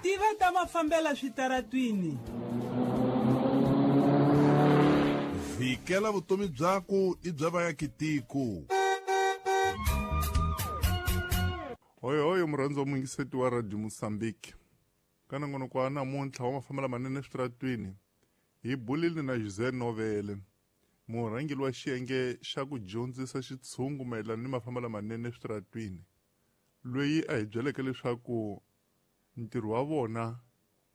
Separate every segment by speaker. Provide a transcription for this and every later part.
Speaker 1: Tiva ta mafambela switaratwini.
Speaker 2: Vhikela vutomi byaku i bya vayakitiko.
Speaker 3: Hoyohoyo murhandzi wa muyingiseti wa Radio Mozambique. Ka nongonoko wa namuntlha wa mafambela manene eswitaratwini hi bulile na José Novele, murhangeri wa xiyenge xa ku dyondzisa xitshungu mayelana ni mafambelo lamanene eswitaratwini, loyi a hi byeleke leswaku ntirho wa vona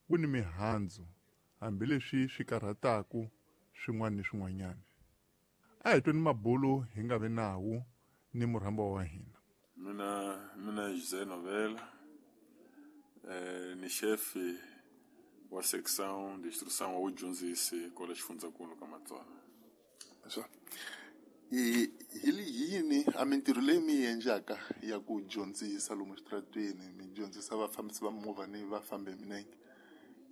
Speaker 3: wu ni mihandzu hambileswi swi karhataka swin'wana ni swin'wanyana. A hi tweni mabulu hi nga vi nawu ni murhambiwa wa hina.
Speaker 4: Mina José Novela, ni chefe wa section de instrução wa vudyondzisi kwala xifundzankulu ka Matsonga.
Speaker 3: Swa hi yini a mintirho leyi mi yi endlaka ya ku dyondzisa lomu eswitarateni mi dyondzisa vafambisi va mimovha ni vafambi hi milenge,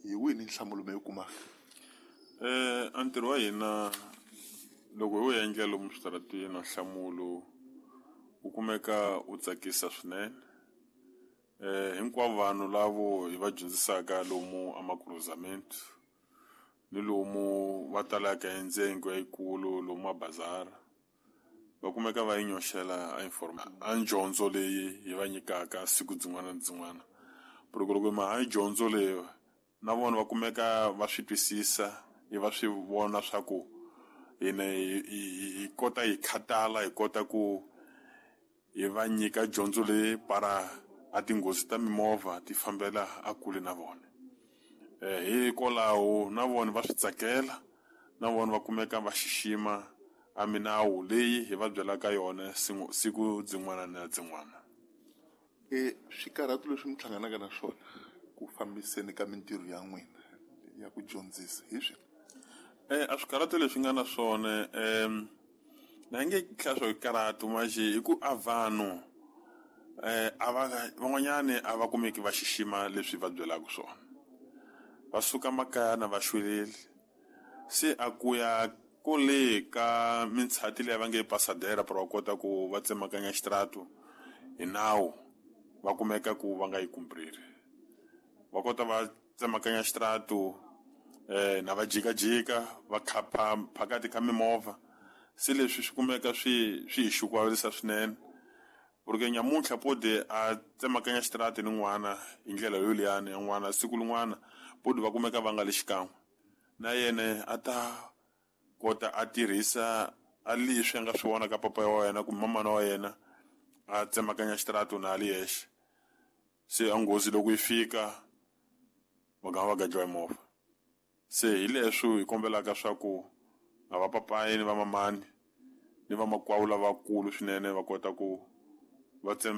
Speaker 3: hi wihi ni nhlamulo mi yi kumaka?
Speaker 4: A ntirho wa hina loko hi wu endla lomu switarateni nhlamulo wu kumeka wu tsakisa swinene. Hinkwavo vanhu lavo hi va dyondzisaka lomu a macruzamento ni lomu va talaka endzengo yikulu lomu mabazara va kumeka va yi nyoxela a a dyondzo leyi hi va nyikaka siku byin'wana na byin'wana. Loko loko ma ha dyondzo leyi na vona va kumeka va swi twisisa i va swi vona swa ku hina hi kota hi khatala hi kota ku hi va nyika dyondzo leyi para a tinghozi ta mimovha ti fambela a kule na vona. Hikwalaho na vona va swi tsakela na vona va kumeka va xixima a minawu leyi hi va byelaka yona siku byin'wana na byin'wana.
Speaker 3: Swikarhato leswi mi hlanganaka na swona ku fambiseni ka mintirho ya n'wina ya ku dyondzisa hi swihi?
Speaker 4: A swikarhato leswi nga na swona na nge hlaya swo karhata manje hi ku a vanhu a va van'wanyani a va kumeki va xixima leswi va byelaka swona. Va suka makaya na va xweleli se a ku ya kule ka mintshati leyi va nge pasadera para va kota ku va tsemakanya xitaratu hi nawu va kumeka ku va nga yi kumpriri. Va kota va tsemakanya xitaratu na va jikajika va khapha phakati ka mimovha se leswi swi kumeka swi hi xukuvalisa swinene. Porque nyamuntlha pode a tsemakanya xitaratu ni n'wana hi ndlela yoliyani ya n'wana siku lin'wana pode va kumeka va nga le xikan'we na yena a ta kota a tirhisa a leswi a nga swi vona ka papa wa yena kumbe mamana wa yena a tsemakanya xitaratu na a li yexe. Se a nghozi loko yi fika va gama va gadliwa hi movha. Se hi leswi hi kombelaka swa ku a va papayi ni va mamani ni vamakwavo lavakulu swinene va kota ku va tsema.